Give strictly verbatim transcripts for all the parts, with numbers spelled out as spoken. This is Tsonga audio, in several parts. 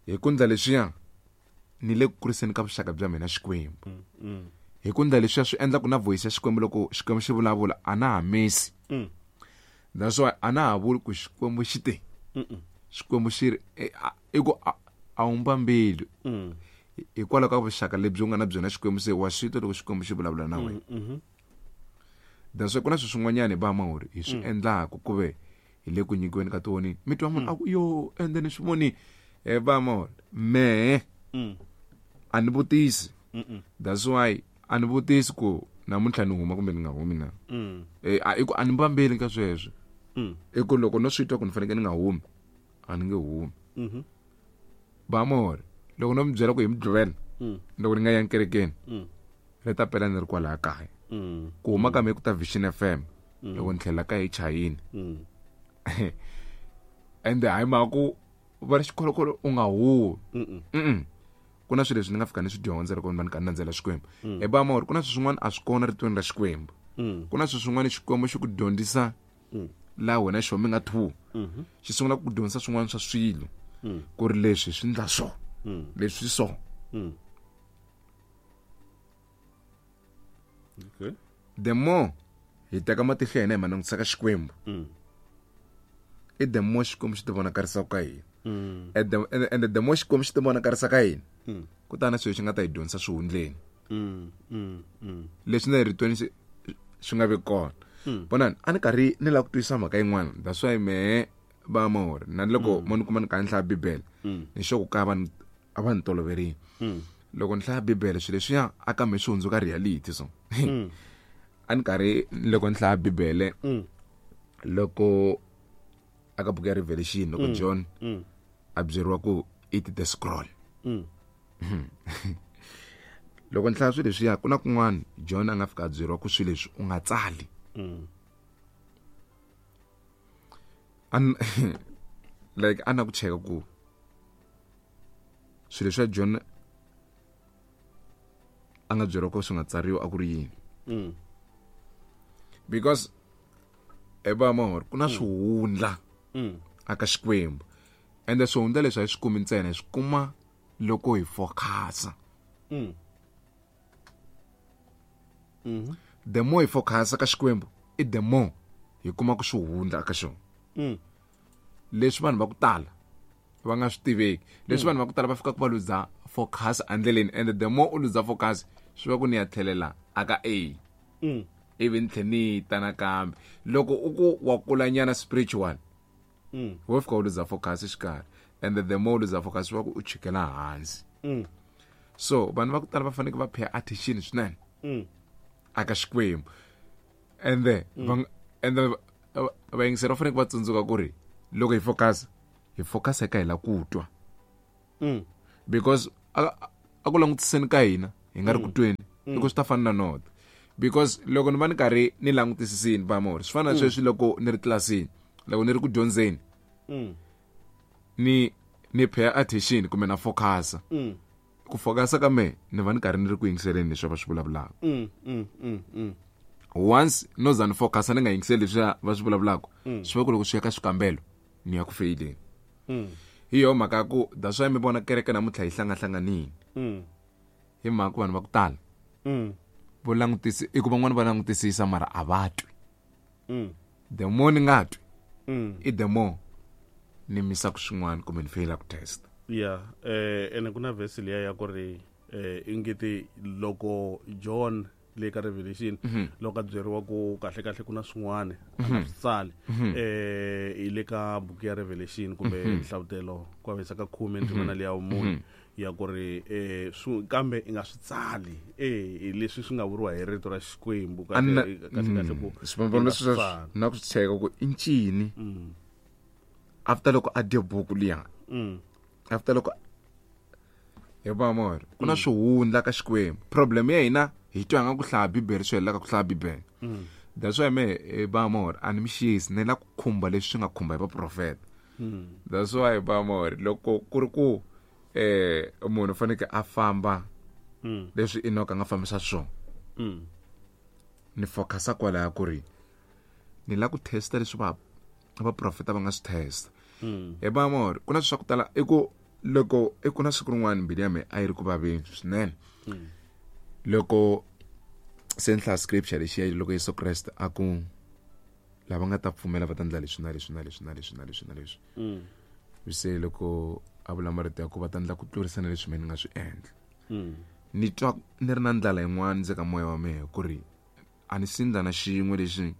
Hi ku ndla leswiya ni le ku kuriseni ka vuxaka bya mina Xikwembu. Mm. Mm. Hi ku ndla leswiya swi endla ku na voice ya Xikwembu loko Xikwembu xi vulavula a na ha misi. Mm. That's why a na ha vuli ku Xikwembu xi te. Mm. Xikwembu xi ri i ku a wu mbambeli. Mm. Hikwalaho ka vuxaka lebyi u nga na byona Xikwembu se wa swi twa loko Xikwembu xi vulavula na wena. Mm-hmm. That's why ku na swilo swin'wanyana hi va mahori hi swi endlaku ku ve hi le ku nyikiweni ka tiwonini. Mi twa munhu a ku yo ende ni swi voni hi va mahori mehe Mm. a ni vutisi. Mm. That's why a ni vutisi ku namuntlha ni huma kumbe ni nga humi na. Mm. Eh a i ku a ni mbambeli ka sweswo. Mm. I ku loko no swi twa ku ni fanekele ni nga humi a ni nge humi. Mhm. Va mahori loko no mi byela ku hi Mugqivela Mm. loko ni nga yangi kerekeni Mm. ri ta pela ni ri kwalaya kaya. Mm. Ku huma ka mehe ku ta Vision F M loko ni tlhela kaya hi chayini. Mm. Ende hayi mhaka ku va ri xikholokolo u nga huwi. Mm. Mm. Ku na swilo leswi ni nga fika ni swi dyondza loko ni va ni karhi ni landzela Xikwembu. Hi ba mahori ku na swilo swin'wana a swi kona ritweni ra Xikwembu. Mm. Ku na swilo swin'wana Xikwembu xi ku dyondzisa Mm. laha wena xo mi nga two. Mhm. Xi sungula ku dyondzisa swin'wana swa swilo. Mm. Ku ri leswi swi ndla so. Mm. Leswi so. Mm. Okay. The more hi teka matihlo ya hina hi ma langutisa ka Xikwembu. Mm. I the more Xikwembu xi ti vonakarisaka ka hina. Mm. And the, and, and the more Xikwembu xi ti vonakarisa ka hina. Mm. Ku ta na swilo xi nga ta hi dyondzisa swihundleni. Mm. Mm. Mm. Leswi na ritweni swi swi nga vi kona. Mm. Vonani a ni karhi ni lava ku twisisa mhaka yin'wana. That's why mehe va mahori na loko mo ni kuma ni karhi ni hlaya Bibele Mm. ni sure ku ka va ni a va ni toloverile. Mm. Loko ni hlaya Bibele swilo leswiya a kambe swi hundzuka reality so. Mm. A ni karhi loko ni hlaya Bibele Mm. loko aka buku ya Revelation loko John Mm. a byeriwa ku eat the scroll. Mm. Loko ni hlaya swilo leswiya ku na kun'wana John a nga fika a byeriwa ku swilo leswi u nga tsali. Mm. An like a na ku cheka ku swilo leswi John a nga byeriwa ku swi nga tsariwa a ku ri yini. Mm. Because eba mahori ku na swihundla Mm. aka Xikwembu. Ende swihundla leswi a hi swi kumi ntsena hi swi kuma loko hi focus-a. Mm. Mhm. The more hi focus-a ka Xikwembu i the more hi kuma ku swihundla aka xona. Mm. Leswi vanhu va ku tala va nga swi tiveki. Leswi vanhu va ku tala va fika ku va luza focus endleleni and the more u luza focus swi va ku ni ya tlhelela aka A. Mm. Ivi ni tlhe ni ta nakambe. Loko u ku wa kulanyana spiritual Mm. wo fika u luza focus exikarhi and the more u luza focus swi va ku u chikela hansi. Mm. So vanhu va ku tala va fanekele va pay attention swinene Mm. aka Xikwembu. And then va and then vayingiseri va fanekele va tsundzuka ku ri loko hi focus hi focus eka hi la ku twa. Mm. Because a a ku langutiseni ka hina hi nga ri ku tweni i ku swi ta fana na nota. Because loko ni va ni karhi ni langutisisini va mahori swi fana na sweswi loko ni ri tlilasini loko ni ri ku dyondzeni Mm. ni ni pay attention kumbe na focus. Mm. Ku focus ka mehe ni va ni karhi ni ri ku yingiseleni leswi va swi vulavulaka. Mm. Mm. Mm. Mm. Once no za ni focus ni nga yingiseli leswi va swi vulavulaka swi va ku loko swi ya ka swikambelo ni ya ku feyileni. Mm. Hi yo mhaka ya ku that's why mi vona kereke namuntlha yi hlangahlanganile. Mm. Hi mhaka ku vanhu va ku tala Mm. vo langutisi i ku van'wani va langutisisa mara a va twi. Mm. The more ni nga twi Mm. i the more ni misaka swin'wana kumbe ni feyilaka test. Yeah, eh ene ku na verse liya ya ku ri eh ingeti loko John le ka Revelation loko a byeriwa ku kahle kahle ku na swin'wana a nga swi tsali eh hi le ka buku ya Revelation kumbe nhlavutelo ku avanyisa ka khume ndzimana liya vumune ya ku ri eh swi kambe i nga swi tsali eh hi leswi swi nga vuriwa hi rito ra Xikwembu A ni na- kahle kahle kahle ku swivangelo i nga leswi swi swa tsali. na ku swi cheka ku i ncini Mm. after loko a dye buku liya Mm. after loko hi va mahori ku na swihundla ka Xikwembu. Problem ya hina hi twa nga ku hlaya Bibele swi helelaka ku hlaya Bibele. Mm. That's why me hi va mahori a ni mi xisi ni la ku khumba leswi swi nga khumba hi vaprofeta. Mm. That's why va mahori loko ku ri ku eh munhu u fanekele a famba Mm. leswi Enoch a nga fambisa swona. Mm. Ni focus-a kwalaya ku ri ni la ku testa leswi va vaprofeta va nga swi testa. Mm. Hi va mahori ku na swilo swa ku tala i ku Loko i ku na siku rin'wana mbilu ya mina a yi ri ku vaveni swinene. Loko se ni hlaya scripture lexiya loko Yesu Kreste a ku lava nga ta pfumela va ta endla leswi na leswi na leswi na leswi na leswi na leswi. Se loko a vula marito ya ku va ta endla ku tlurisa na leswi mina ni nga swi endla. Ni twa ni ri na ndlala yin'wana ndzi ka moya wa mina ku ri a ni si ndla na xin'we lexi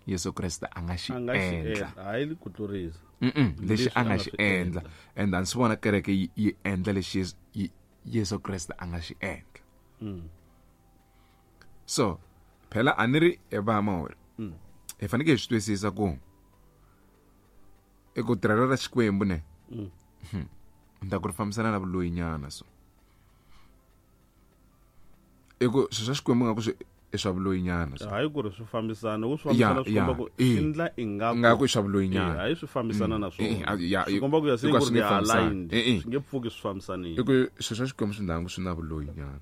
Yesu Kreste a nga xi endla. Hayi ku tlurisa. Lexi a nga xi endla. And a ni swi vona kereke yi endla lexi Yesu Kreste a nga xi endla. So phela a ni ri evamori. Hi fanekele hi swi twisisa ku i ku tirhela ra Xikwembu ne. Ni ta ku ri fambisana na vuloyinyana so. I ku swilo swa Xikwembu nga ku swi i swa vuloyinyana so. Hayi ku ri swi fambisana, ku swi fambisana swi komba ku endla ingaku nga ku i swa vuloyinyana. Hayi swi fambisana na swona. Swi komba ku ya se ku ri aligned. Swi nge pfuki swi fambisanile. I ku swilo swa Xikwembu swi ndhangu swi na vuloyinyana.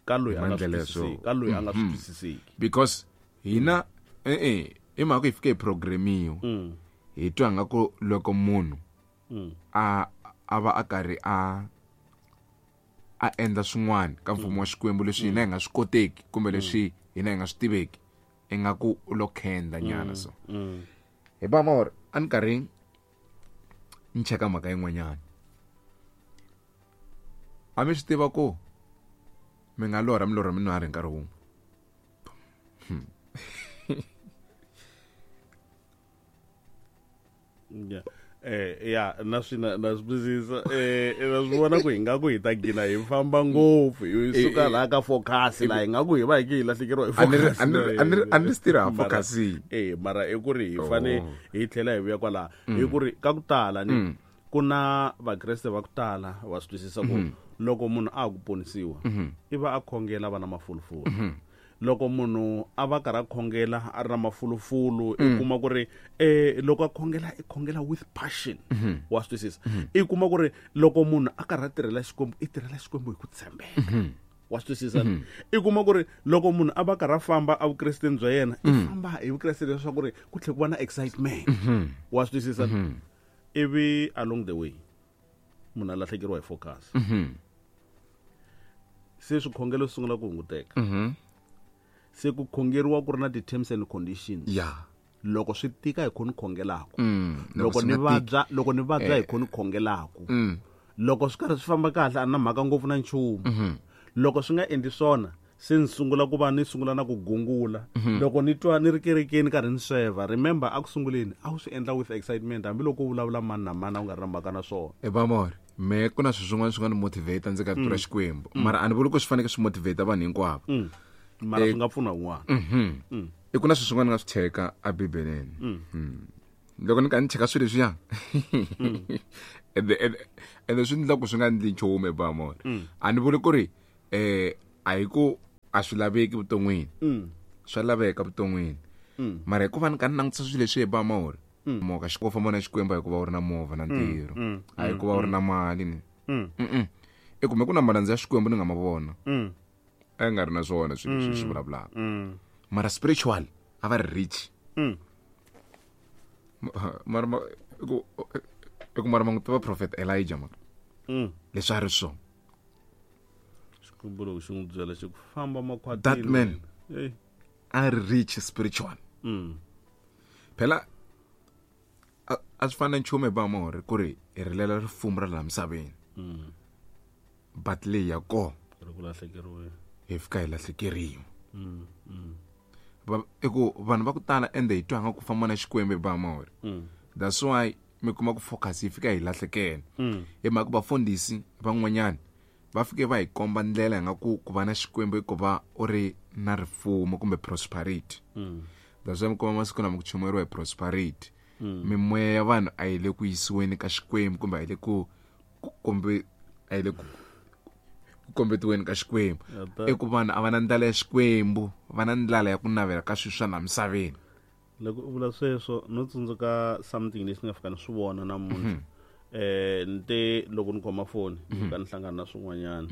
Ka loyi a nga swi twisiseki, ka loyi a nga swi twisiseki. Because hina eh eh i mhaka hi fike hi programmiwa. Hi twa nga ku loko munhu a a va a karhi a a endla swin'wana ka mfumo wa Xikwembu leswi hina hi nga swi koteki kumbe leswi hina hi nga swi tiveki ingaku u lo khenda nyana so. Hi ba mor a ni karhi ni cheka mhaka yin'wanyana. A mi swi tiva ku mi nga lorha mi lorha mi nwa ri nkarhi wun'we. Yeah. Eh ya na swi na swi twisisa eh na swi vona ku hi nga ku hi ta gina hi famba ngopfu hi suka laha ka focus la hi nga ku hi va hi ki hi lahlekeriwa hi focus. A ni a ni swi tirha focus. Eh mara i ku ri hi fane hi tlhela hi vuya kwala hi ku ri ka ku tala ni ku na vakreste va ku tala wa swi twisisa ku loko munhu a ku ponisiwa i va a khongela va na mafulufulu. Loko munhu a va karhi a khongela a ri na mafulufulu i kuma ku ri eh loko a khongela i khongela with passion. Wa swi twisisa. I kuma ku ri loko munhu a karhi a tirhela Xikwembu i tirhela Xikwembu hi ku tshembeka. Wa swi twisisa. I kuma ku ri loko munhu a va karhi a famba a vukresteni bya yena i famba hi vukreste leswaku ri ku tlhela ku va na excitement. Wa swi twisisa. Ivi along the way munhu a lahlekeriwa hi focus. Se swikhongelo swi sungula ku hunguteka. Se ku khongeriwa ku ri na ti-terms and conditions. Yeah. Loko swi tika hi khoni khongelaku. Loko ni vabya, loko ni vabya hi khoni khongelaku. Loko swi karhi swi famba kahle a na mhaka ngopfu na nchumu. Loko swi nga endli swona se ni sungula ku va ni sungula na ku gungula. Loko ni twa ni ri kerekeni karhi ni sweva, remember a ku sunguleni a wu swi endla with excitement hambiloko u vulavula mani na mani a wu nga ri na mhaka na swona. E vamor, me ku na swilo swin'wana swi nga ni motivate ndzi ka tirha Xikwembu. Mara a ni vuli ku swi faneke swi motivate vanhu hinkwavo. Mara swi nga pfuna un'wana. I ku na swilo swin'wana nga swi cheka eBibeleni. Loko ni ka ni cheka swilo leswiya ende ende swi endla ku swi nga endli nchumu ebamona. A ni vuli ku ri eh a hi ku a swi laveki vuton'wini. Swa laveka vuton'wini. Mara hikuva ni ka ni langutisa swilo leswi ebamona. Moka xi famba na Xikwembu hikuva u ri na movha na ntirho. A hi ku va u ri na mali ni. I kumbe ku na malandza ya Xikwembu ni nga ma vona. A nga ri na swona swilo leswi swi vulavulaka. Mara spiritual a va ri rich. Mara ku ku mara mangu tiva prophet Elijah ma. Leswi a ri swona. Xikwembu loko xi n'wi byela xi ku famba makhwatini. That man a ri rich spiritual. Phela a swi fana nchumu hi bamore ku ri hi rilela rifumo ra laha misaveni. But leyi ya kona ri ku lahlekeriwe. Hi fika hi lahlekeriwa. I ku vanhu va ku tala ende hi twa nga ku famba na Xikwembu hi bamore. That's why mi kuma ku focus yi fika hi lahlekela. Hi mhaka vafundhisi van'wanyana va fike va hi komba ndlela hi nga ku ku va na Xikwembu i ku va u ri na rifumo kumbe prosperity. That's why mi kuma masiku lama ku chumayeriwa hi prosperity. Mimoya ya vanhu a yi le ku yisiweni ka Xikwembu kumbe a yi le ku kumbe a yi le ku kombetiweni ka Xikwembu. I ku vanhu a va na ndlala ya Xikwembu, va na ndlala ya ku navela ka swilo swa laha misaveni. Loko u vula sweswo no tsundzuka something lexi ni nga fika ni swi vona namuntlha. Eh ni te loko ni khoma foni ni fika ni hlangana na swin'wanyana.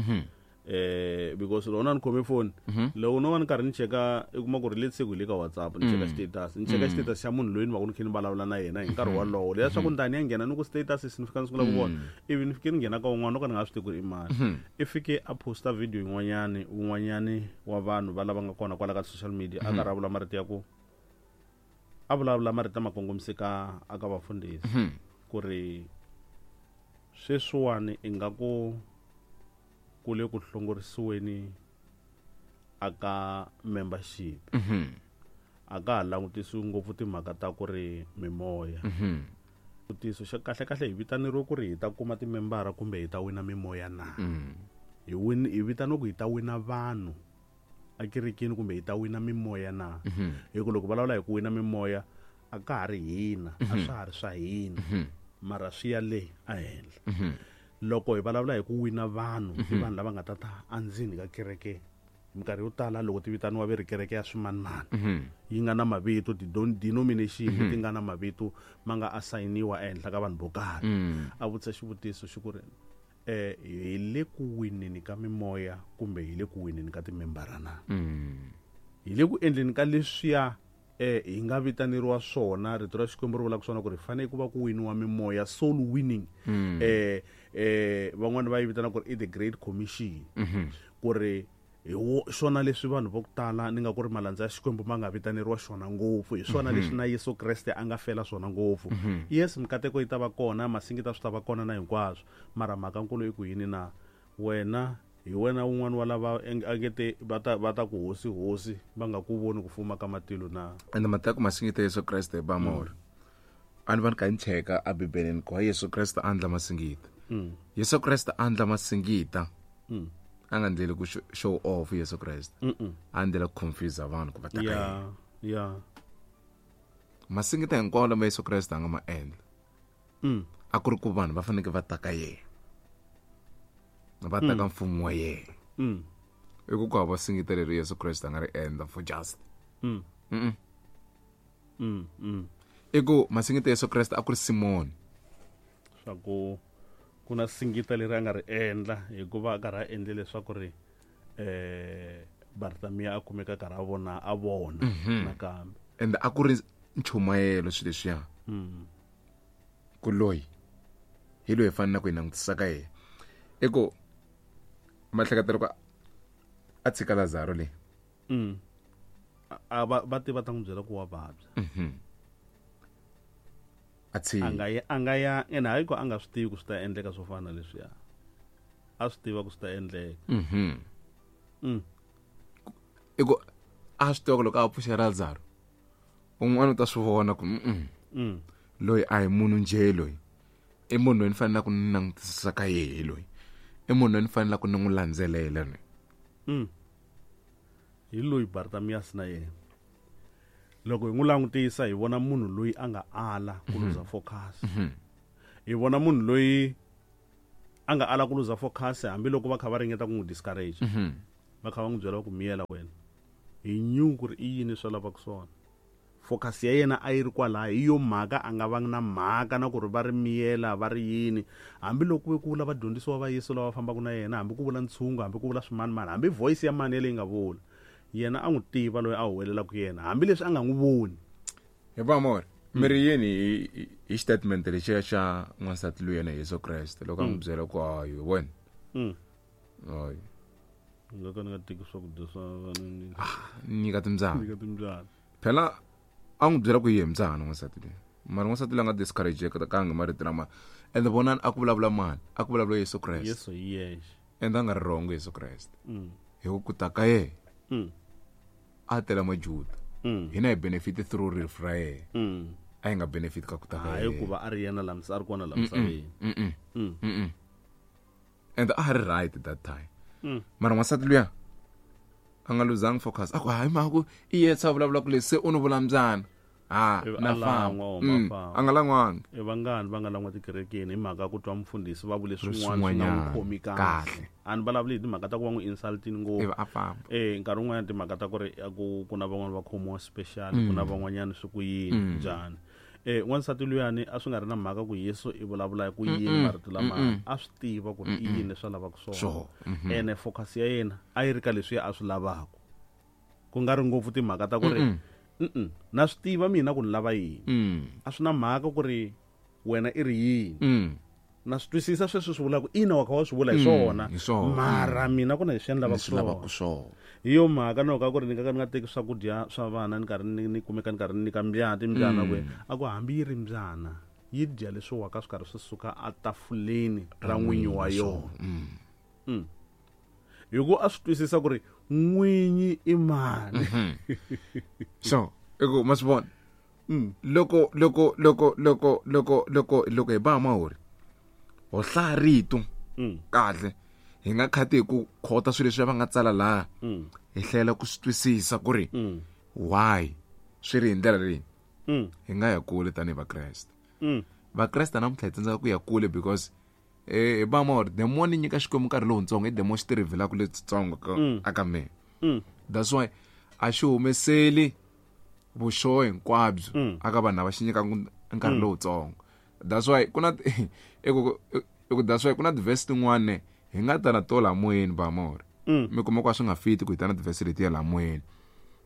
Eh because loko na ni khome phone loko no va ni karhi ni cheka i kuma ku ri let's say ku hi le ka WhatsApp ni cheka status ni cheka status xa munhu loyi ni va ku ni khe ni vulavula na yena hi nkarhi wolowo leya swa ku ni ta ni ya nghena ni ku status ni fika ni sungula ku vona ivi ni fike ni nghena ka un'wana no ka ni nga swi tivi ku ri i mani i fike a posta video yin'wanyani un'wanyani wa vanhu va lava nga kona kwala ka social media a karhi a vula marito ya ku a vulavula marito lama kongomise ka aka vafundhisi ku ri sweswiwani ingaku ku le ku hlongorisiweni aka membership a ka ha langutisiwi ngopfu timhaka ta ku ri mimoya xivutiso xa kahle kahle hi vitaneriwe ku ri hi ta kuma timembara kumbe hi ta wina mimoya na hi win hi vitaniwe ku hi ta wina vanhu ekerekeni kumbe hi ta wina mimoya na hi ku loko vulavula hi ku wina mimoya a ka ha ri hina a swa ha ri swa hina mara swi ya le a henhla loko hi vulavula hi ku wina vanhu i vanhu lava nga ta ta endzeni ka kereke minkarhi yo tala loko ti vitaniwa ve ri kereke ya swimanimani yi nga na mavito ti-denomination leti nga na mavito ma nga assigniwa ehenhla ka vanhu vo karhi a vutisa xivutiso xi ku ri eh hi le ku wineni ka mimoya kumbe hi le ku wineni ka timembara na hi le ku endleni ka leswiya eh hi nga vitaneriwa swona rito ra Xikwembu ri vulaka swona ku ri fanele ku va ku winiwa mimoya soul winning eh eh van'wani va yi vitana ku ri i the great commission ku ri hi swona leswi vanhu vo tala ni nga ku ri malandza ya Xikwembu ma nga vitaneriwa xona ngopfu hi swona leswi na Yesu Kreste a nga fela swona ngopfu yes mikateko yi ta va kona masingita swi ta va kona na hinkwaswo mara mhaka nkulu i ku yini na wena hi wena un'wana wa lava angete va ta va ta ku hosi hosi va nga ku voni ku fuma ka matilo na ende mateko masingita Yesu Kreste ba mori a ni va ni ka ni cheka a Bibeleni ku Yesu Kreste a endla masingita Yesu Kreste a endla masingita a nga ndleli ku show off Yesu Kreste a ndlela ku confuse vanhu ku va ta ka yena yeah masingita hinkwawo lama Yesu Kreste a nga ma endla a ku ri ku vanhu va fanele va ta ka yena va ta ka mfumo wa yena i ku ku hava singita leri Yesu Kreste a nga ri endla for just i ku masingita Yesu Kreste a ku ri Simoni swa ku ku na singita leri a nga ri endla hikuva a karhi a endle leswaku ri eh Bartamiya a kumeka karhi a vona a vona nakambe ende a ku ri nchumayelo swilo leswiya ku loyi hi loyi hi fanele ku hi langutisa ka yena i ku mahleketa loko a tshika Lazaro le a va va tiva ta n'wi byela ku wa vabya a tshika a nga ya a nga ya ene hayi ku a nga swi tivi ku swi ta endleka swo fana na leswiya a swi tiva ku swi ta endleka i ku a swi tiva ku loko a pfuxa Lazaro un'wana u ta swi vona ku loyi a hi munhu njhe loyi i munhu loyi ni faneleke ku ni langutisisa ka yehe loyi i munhu loyi ni faneleke ku ni n'wi landzelela loyi hi loyi Bartamias na yena loko hi n'wi langutisa hi vona munhu loyi a nga ala ku luza focus hi vona munhu loyi a nga ala ku luza focus hambiloko va kha va ringeta ku n'wi discourage va kha va n'wi byela ku miyela wena hi knew ku ri i yini swa lavaka swona focus ya yena a yi ri kwalaho hi yo mhaka a nga vangi na mhaka na ku ri va ri miyela va ri yini hambiloko ku ve ku vula vadyondzisiwa va Yesu lava fambaka na yena hambi ku vula ntshungu hambi ku vula swimanimani hambi voice ya mani yaleyi nga vula yena a n'wi tiva loyi a huwelelaka yena hambileswi a nga n'wi voni hi va mori mi ri yini hi hi statement lexiya xa n'wansati loyi yena Yesu Kreste loko a n'wi byela ku hayi wena hayi nga ka ni nga teki swakudya swa nyika timbyana nyika timbyana phela a n'wi byela ku yi mbyana n'wansati loyi mara n'wansati loyi a nga discourage kangi marito lama ende vonani a ku vulavula mani a ku vulavula Yesu Kreste Yesu hi yexe ende a nga ri wrong Yesu Kreste hi ku ku ta ka yena a tela majuda hina hi benefit through rifu ra yena a hi nga benefit ka ku ta ka hayi yena ku va a ri yena la a ri kona la misaveni ende a ha ri right that time mara n'wansati luya a nga luzangi focus a ku hayi mhaku i yetsa a vulavula ku leswi se u ni vula mbyana ha Ivi na a famba lan'wa, huma Mm, famba. a nga lan'wangi i vangani va nga lan'wa tikerekeni hi mhaka ku twa mufundhisi va vule swin'wana swi nga Swin'wanyana. n'wi khomi kahle Kahle. a ni vulavuli hi timhaka ta ku va n'wi insultini ngopfu ivi a famba eh nkarhi wun'wanyana timhaka ta ku ri a ku ku na van'wani va khomiwa special ku na van'wanyana swi ku yini njhani Eh wansati luyani a swi nga ri na mhaka ku Yesu i vulavula ku yini marito lama a swi tiva ku ri i yini leswi a lavaka swona. Ene focus ya yena a yi ri ka leswi a swi lavaka. Ku nga ri ngopfu timhaka ta ku ri mm na swi tiva mina ku ni lava yini. A swi na mhaka ku ri wena i ri yini. Na swi twisisa sweswi swi vulaka ina wa kha wa swi vula hi swona mara mina ku na leswi ni lavaka swona. Hi yo mhaka no ka ku ri ni ka ni nga teki swakudya swa vana ni karhi ni kumeka ni karhi ni nyika mbyana timbyana ku a ku hambi yi ri mbyana yi dya leswi waka swi karhi swi suka etafuleni ra n'winyi wa yona. Hi ku a swi twisisa ku ri n'winyi i mani. So i ku ma swi vona loko loko loko loko loko loko loko hi ba mahori ho hlaya rito kahle hi nga khati hi ku khota swilo leswi va nga tsala laha hi hlayela ku swi twisisa ku ri why swi ri hi ndlela leyi hi nga ya kule tanihi vakreste. Vakreste namuntlha hi tsandzeka ku ya kule because eh ba mahori the more ni nyika Xikwembu nkarhi lowutsongo i the more xi ti revealaka letsongo aka mina. That's why a xi humeseli vuxoho hinkwabyo aka vanhu lava xi nyikaka nkarhi lowutsongo. That's why kuna eku eku that's why kuna ti-verse tin'wana hi nga ta na to laha moyeni ba mahori mi kuma ku a swi nga fiti ku hi ta na ti-verse letiya laha moyeni.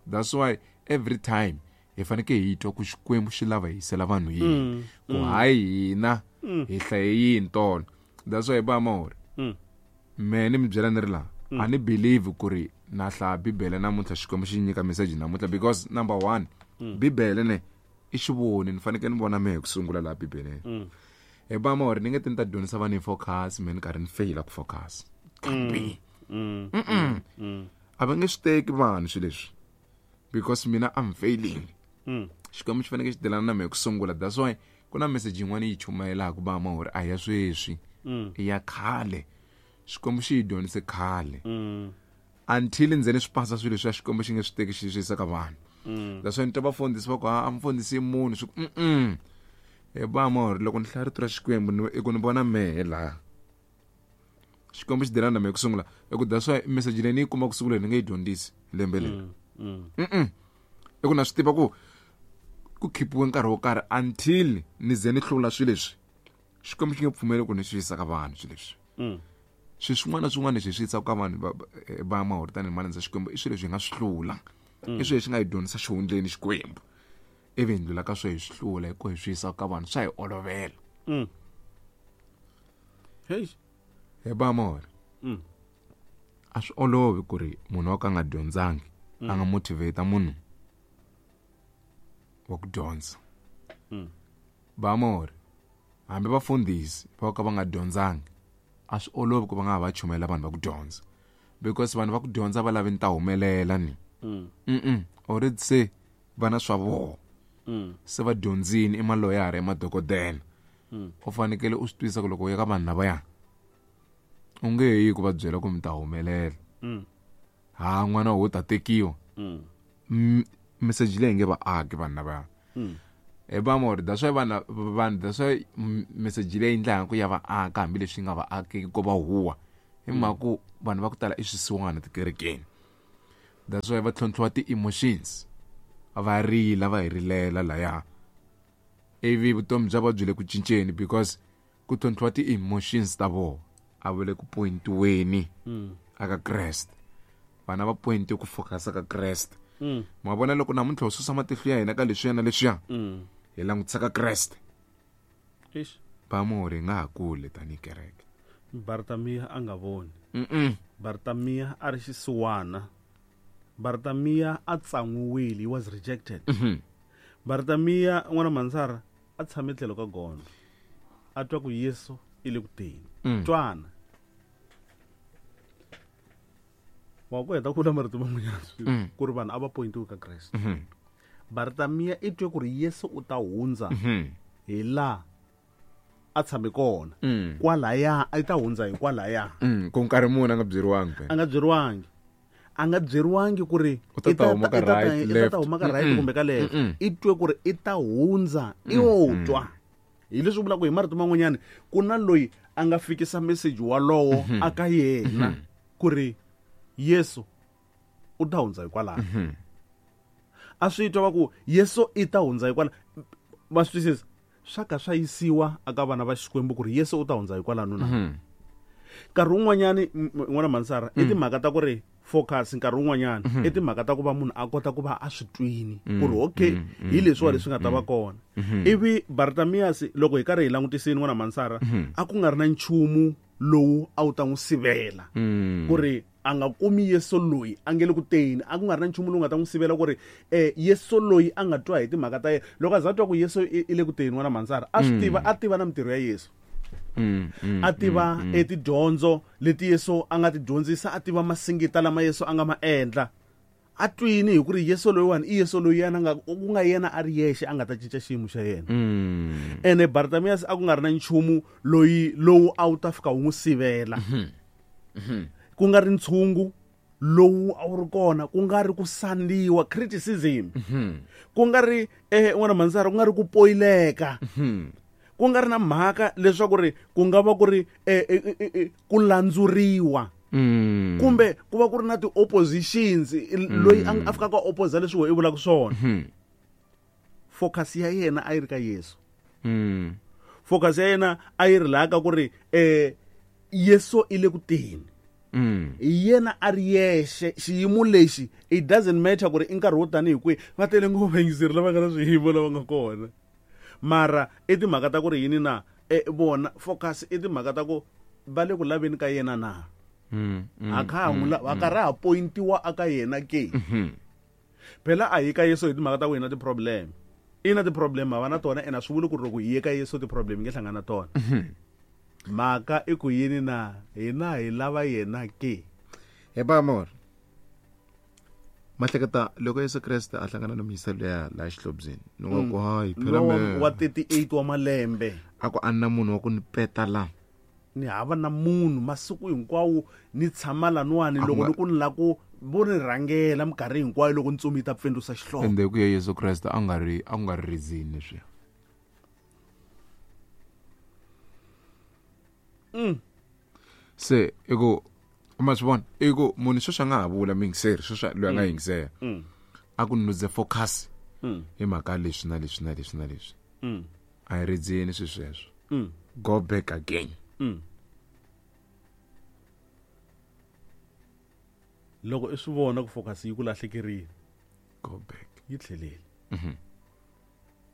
That's why every time hi fanekele hi twa ku Xikwembu xi lava hi yisela vanhu yini ku hayi hina hi hlaye yini tolo. That's why ba mahori me ni mi byela ni ri laha a ni believe ku ri na hlaya Bibele namuntlha Xikwembu xi nyika message namuntlha because number one Bibele ne i xivoni ni fanekele ni vona mehe ku sungula laha Bibeleni. Hi ba mahori ni nge ti ni ta dyondzisa vanhu hi focus me ni karhi ni feyila ku focus. Can't be. A va nge swi teki vanhu swilo leswi because mina I'm failing. Xikwembu xi fanekele xi delana na mehe ku sungula. That's why ku na message yin'wana yi chumayelaka ba mahori a ya sweswi i ya khale. Xikwembu xi yi dyondzise khale until ndzeni swi pasa swilo leswi Xikwembu xi nge swi teki xi swi yisa ka vanhu. That's why ni twa vafundhisi va ku a mfundhisi i munhu swi ku mm hi ba mahori loko ni hlaya rito ra Xikwembu i ku ni vona mehe laha Xikwembu xi delana na mehe ku sungula. I ku that's why message leyi ni yi kuma ku sungula ni nge yi dyondzisi lembe leri. Mm i ku na swi tiva ku ku khipiwe nkarhi wo karhi until ni ze ni hlula swilo leswi Xikwembu xi nge pfumeli ku ni swi yisa ka vanhu swilo leswi. Swilo swin'wana na swin'wana leswi hi swi yisaka ka vanhu va mahori tanihi malandza Xikwembu i swilo leswi hi nga swi hlula. I swilo leswi nga hi dyondzisa xihundleni Xikwembu ivi hi ndlula ka swo hi swi hlula hi ku hi swi yisa ka vanhu swa hi olovela. Hey hi ba mahori a swi olovi ku ri munhu wa ka a nga dyondzangi a nga motivate munhu wa ku dyondza. Ba mahori hambi vafundhisi va ka va nga dyondzangi a swi olovi ku va nga ha va chumayela vanhu va ku dyondza because vanhu va ku dyondza va lavi ni ta humelela ni mm already se va na swa voho se va dyondzini i maloyara i madokodela u fanekele u swi twisisa ku loko u ya ka vanhu lavaya u nge yi ku va byela ku mi ta humelela ha n'wana wo ta tekiwa message leyi nge va aki vanhu lavaya. Hi ba mahori that's why vanhu vanhu that's why message leyi endlaka ku ya va aka hambileswi nga va akeki ko va huwa hi mhaka ku vanhu va ku tala i swisiwana tikerekeni. That's why va tlhontlhiwa ti-emotions va rila va hi rilela laya ivi vutomi bya va byi le ku cinceni because ku tlhontlhiwa ti-emotions ta vona a va le ku pointiweni aka Kreste. Vana va pointi ku focus ka Kreste. Ma vona loko namuntlha ho susa matihlo ya hina ka leswiya na leswiya hi langutisa ka Kreste. Ba mahori hi nga ha kule tanihi kereke. Bartamiya a nga voni. Bartamiya a ri xisiwana. Bartamiya a tsan'wiwile, he was rejected. Bartamiya n'wana Mansara a tshame tlhelo ka gondzo a twa ku Yesu i le ku teni. Twana wa ku heta ku vula marito man'wanyana ku ri vanhu a va pointiwe ka Kreste. Bartamiya i twe ku ri Yesu u ta hundza hi laha a tshame kona kwalaya a ta hundza hi kwalaya ku nkarhi muni a nga byeriwangi a nga byeriwangi a nga byeriwangi ku ri u ta ta huma ka right i ta huma ka right kumbe ka left. I twe ku ri i ta hundza i wo twa hi leswi vulaka hi marito man'wanyana ku na loyi a nga fikisa message walowo aka yena ku ri Yesu u ta hundza hikwalaho. A swi twa va ku Yesu i ta hundza hikwalaho. Ma swi twisisa swa ka swa yisiwa aka vana va Xikwembu ku ri Yesu u ta hundza hikwalano na. Nkarhi wun'wanyani n'wana Mansara i timhaka ta ku ri focus nkarhi wun'wanyana i timhaka ta ku va munhu a kota ku va a swi twini ku ri okay hi leswiwa leswi nga ta va kona. Ivi Bartamias loko hi karhi hi langutisini n'wana Mansara a ku nga ri na nchumu lowu a wu ta n'wi sivela ku ri a nga kumi Yesu loyi a nge le ku teni, a ku nga ri na nchumu lowu nga ta n'wi sivela ku ri eh Yesu loyi a nga twa hi timhaka ta yena. Loko a za twa ku Yesu i le ku teni n'wana Mansara a swi tiva, a tiva na mintirho ya Yesu. Mm, mm, a tiva mm, etidyondzo leti Yesu a nga ti dyondzisa, a tiva masingita lama Yesu a nga ma endla. A twini hi ku ri Yesu loyiwani i Yesu loyi yena nga ku nga yena a ri yexe a nga ta cinca xiyimo xa yena. Mm. Ene Bartamias a ku nga ri na nchumu loyi lowu a wu ta fika wu n'wi sivela. Ku nga ri ntshungu lowu a wu ri kona, ku nga ri ku sandiwa criticism. Ku nga ri eh n'wana Mansara ku nga ri ku poyileka. Ku nga ri na mhaka leswaku ri ku nga va ku ri eh, eh, eh, eh, ku landzuriwa. Mm. Kumbe ku va ku ri na ti-oppositions, loyi a a fikaka a opposa leswi wena i vulaka swona. Focus ya yena a yi ri ka Yesu. Mm. Focus ya yena a yi ri laha ka ku ri eh Yesu i le ku teni. Mm. Hi yena a ri yexe xiyimo lexi, it doesn't matter ku ri i nkarhi wo tanihi kwihi, va tele ngopfu vayingiseri lava nga na swiyimo lava nga kona. Mara i timhaka ta ku ri yini na, eh, vona focus i timhaka ta ku va le ku laveni ka yena na. Mm, mm, A kha ha n'wi la-, a karhi a pointiwa aka yena ke. Mm-hmm. Phela a hi ka Yesu hi timhaka ta ku hi na ti-problem. I na ti-problem ha va na tona, ene a swi vuli ku ri loko hi ye ka Yesu ti-problem hi nge hlangana na tona. Mm-hmm. Mhaka i ku yini na, hina hi lava yena ke. He ba mor. Mahleketa loko Yesu Kreste a hlangana na muyisa luya laha xihlobyeni, ni nga ku, hayi, phela Lowa me. wa thirty-eight wa malembe. A ku a na munhu wa ku ni peta la. Ni hava na munhu masiku hinkwawo ni tshama laniwani, A ku loko nga ni ku ni la ku vo ni rhangela minkarhi hinkwayo loko ntsumi yi ta pfindlusa xihlovo. Ende ku ya Yesu Kreste a nga ri, a nga ri reason leswiya. Mm. Se i ku ma swi vona, i ku munhu sweswi a nga ha vula muyingiseri, sweswi loyi a nga Mm. yingisela. Mm. A ku nuze focus Mm. hi mhaka leswi na leswi na leswi na leswi. Mm. A hi redzeni swilo sweswo. Mm. Go back again. Mm. Loko i swi vona ku focus yi ku lahlekerile, Go back. yi tlhelele. Mm-hmm.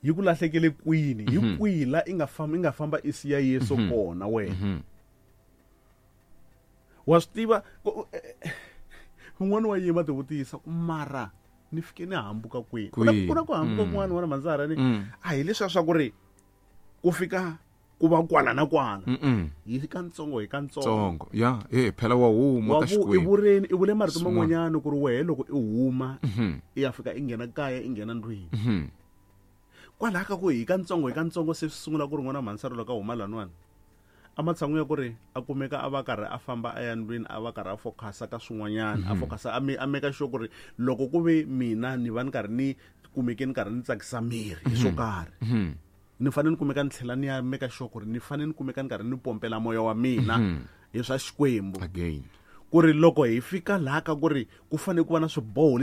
Yi ku lahlekele kwini? Hi Mm-hmm. kwihi la i nga famba, i nga famba i siya Yesu Mm-hmm. kona wena? Mm-hmm. Wa swi tiva, ku, eh, eh, un'wana wa yima ti vutisa ku mara ni fike ni hambuka kwihi? Ku na, Kwihi? ku na ku hambuka Mm. kun'wana wena Manzara ni, Mm. a hi leswiya swa ku ri ku fika ku va kwala na kwala. Mm-mm. Hi kantsongo hi kantsongo. Tsongo. Ya, eh, phela wa huma Wa ka vu-, i Xikwembu. vureni, i vule marito Swin'wana. man'wanyana ku ri wehe loko i huma, Mm-hmm. i ya fika i nghena kaya, i nghena ndlwini. Mm-hmm. Kwalaho ka ku hi kantsongo hi kantsongo se swi sungula ku ri n'wana Mansara loko a huma laniwani. A matshan'wini ya ku ri a kumeka a va karhi a famba a ya ndlwini, a va karhi a focus-a ka swin'wanyana, a Mm-hmm. focus-a, a me-, a make sure ku ri loko ku ve mina ni va ni karhi ni kumeke ni karhi ni tsakisa miri hi swo Mm-hmm. karhi. Mm-hmm. Ni fanele ni kumeka ni tlhela ni ya make sure ku ri ni fanele ni kumeka ni karhi ni pompela moya wa mina Mm-hmm. hi swa Xikwembu. Again. Ku ri loko hi fika laha ka ku ri ku fanele ku va na swiboho